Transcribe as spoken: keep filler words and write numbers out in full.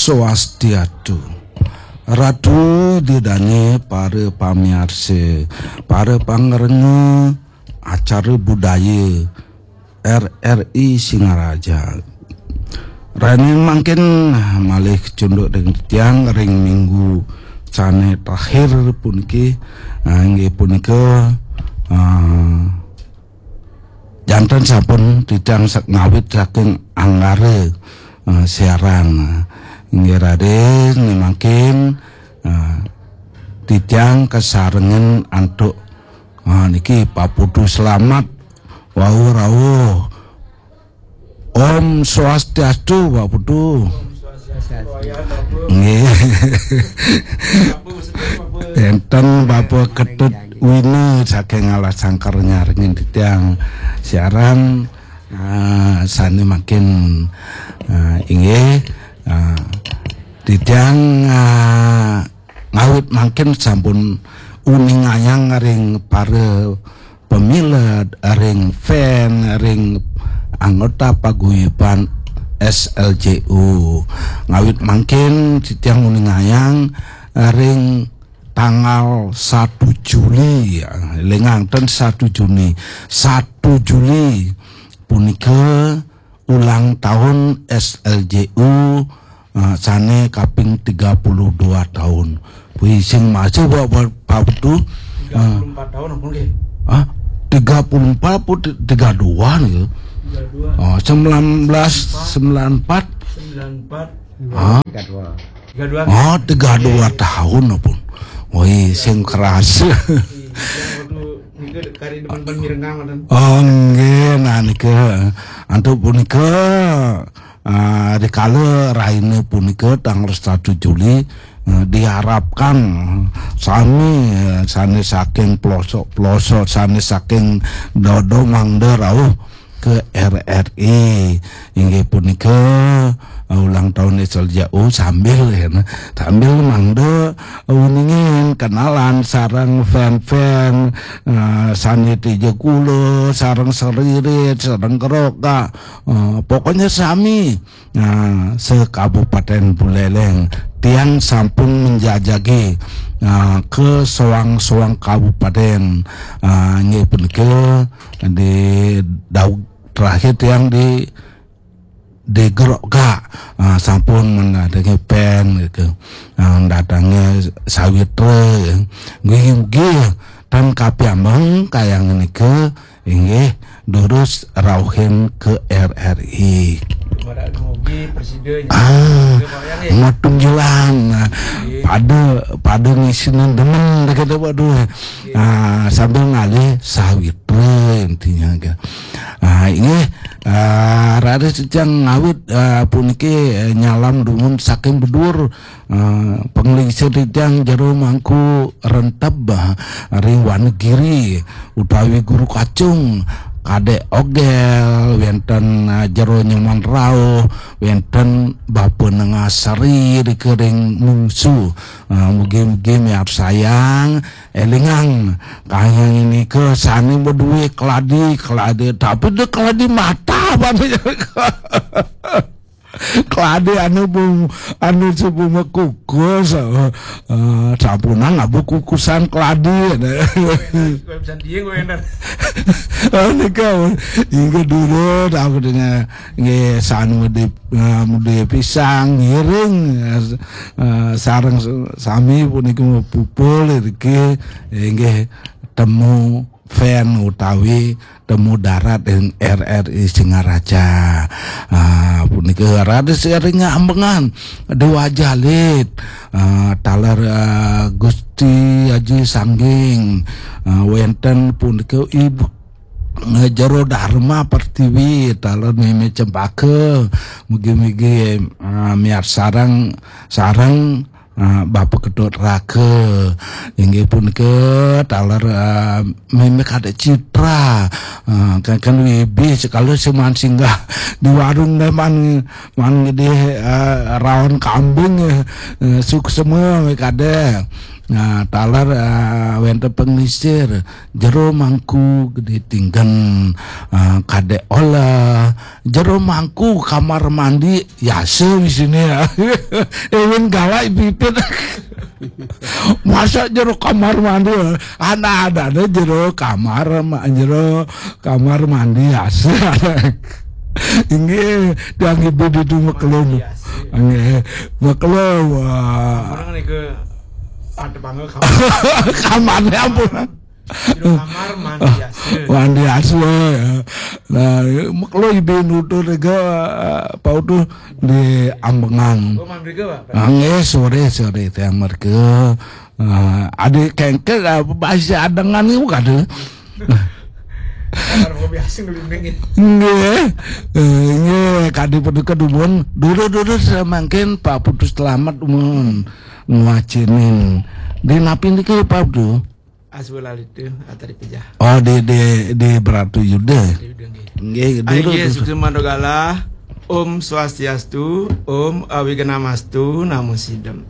Swastiastu. Ratu Ida Dané, para pamiarsa, para pangrengga acara budaya R R I Singaraja. Rainin mangkin malih kacunduk ring tiang ring minggu sané terakhir puniki, ah, inggih punika, ah, janten sampun titiang sak ngawit saking Anggara, eh, siaran. Inggih raris mangkin, eh, titiang kasarengin antuk, ah, niki Pak Putu Slamet. Wau rawuh. Om Swastiastu, Pak Putu. Nggih. Enten Bapak Ketut Wina saking Alas Sangkar nyarengin titiang siaran, ah, sané mangkin, ah, inggih, ah, titiang, ah, ngawit mangkin sampun uningayang ring para pamilet, ring fan, ring anggota paguyuban S L J U. Ngawit mangkin titiang uningayang ring tanggal satu Juli, ya, élingang ten satu Juni, satu Juli punika ulang tahun S L J U, eh, sané kaping tiga puluh dua tahun. Wih, sing masih buat, buat Pak Putu. Tiga puluh empat tahun apa nggih? Ah, tiga puluh empat apa ti-, tiga dua nih? Tiga dua. Oh, sembilan belas sembilan empat. Sembilan empat. Ah. Tiga dua. Tiga dua. Oh, tiga dua tahun apa? Wih, sing keras. Iya, waktu nika kari depan-depan mirenggang, ngoten. Oh, nggih, nah nika. Antuk punika, ah, rikala raina punika tanggal satu Juli, eh, diharapkan sami, eh, sané saking pelosok-pelosok, sané saking dodo mangda rauh ke R R I. Inggih punika, eh, ulang tahun S L J U sambil, ya, nah, sambil mangda, eh, uningin kenalan sareng fan-fan, eh, sané tija kula, sareng Seririt, sareng Keroka. Eh, pokoknya sami, nah, se-Kabupaten Buleleng. Tiang sampun menjajagi, nah, ke soang-soang kabupaten. Nah, inggih punika di daweg terakhir tiang di, di Geroka. Nah, sampun mendatangi fan gitu. Nah, mendatangi sawitra, ya. Nggih, nggih. Tan kapiambeng kayang nika, inggih, durus rauhin ke R R I. Pada dumugi presida nya. Ah, Pak, ya, nggih. Matunggilan. Nah, nggih. Pada, pada ngisinin demen, dah kata, waduh. Nggih. Ah, sambil ngalih sawitra intinya, kan. Ah, inggih, ah, raris titiang ngawit, ah, puniki, eh, nyalam dumun saking bedur, ah, panglingsir titiang jero Mangku Renteb, ah, ring Wanagiri, utawi Guru Kacung, Kadek Ogel, wenten, ah, jero Nyoman Rauh, wenten Bapa Nengasari, rika ring Mungsu. Ah, mugi-mugi miarsayang, élingang, kayang nika sané madué keladi, keladi, tapi dia keladi mata, apa nih? Keladi anu bung, anu sebung kukus, eh, eh, sampunang abu kukusan keladi. Kowe bisa dia, kowe enak. Oh, nika, inggih dulu, apa dengan, nggih, sanu di, eh, mudi pisang, ngiring, eh, eh, sareng s-, sami punika pupul, iriki, inggih, temu fan utawi temu darat ing R R I Singaraja. Ah, punika raris ring ambengan Dewa Jalit, ah, taler, ah, Gusti Aji Sangging, ah, wenten punika Ibu, eh, Jero Dharma Pertiwi, taler Mimi Cempaka, mugi-mugi, ah, miarsareng, sareng, ah, Bapa Ketut Raka. Inggih punika taler, ah, Mimi Kadek Citra. Ah, kan, kan wibi sekali seman singgah di warung deh man, man gedé, ah, raon kambing, eh, eh, suksema Mimi Kadek. Nah, taler eh, wénten panglingsir, jero mangku gedé tinggen, eh, kadék oléh, jero mangku kamar mandi, yasa di sini ya. Éwin galak pipit. Masa jero kamar mandi? Ana-ana jero kamar ma-, jero kamar mandi yasa. Inggih, tiang ibu ditu maklum. Inggih, maklum. Wah. Orang ni ke ada bangga kamar. Kamarnya ampun. Jero kamar mandi yasa. Mandi yasa, ya. Nah, maklum ibu nutur ke, eh, Pak Utuh di Ambengan. Oh, mandi ke, Pak? Ah, nggih, sore, sore, tiang mereka. Eh, adik kengkel, eh, masih adengan itu kada. Kamar mau biasa ngelindungin. Nggih. Eh, nggih, kadi paduka dumun. Dulu-dulu semangkin Pak Putu Selamat mun ngwacinin. Di napi niki Pak Putu? Aswalalitu atari pijah. Oh, di, di, di Bratu Yuda. Di Yuda, nggih. Nggih, dulu, Inggih, dulu. Sukses Mandogala. Om Swastiastu, Om Awignamastu, Namo Sidam.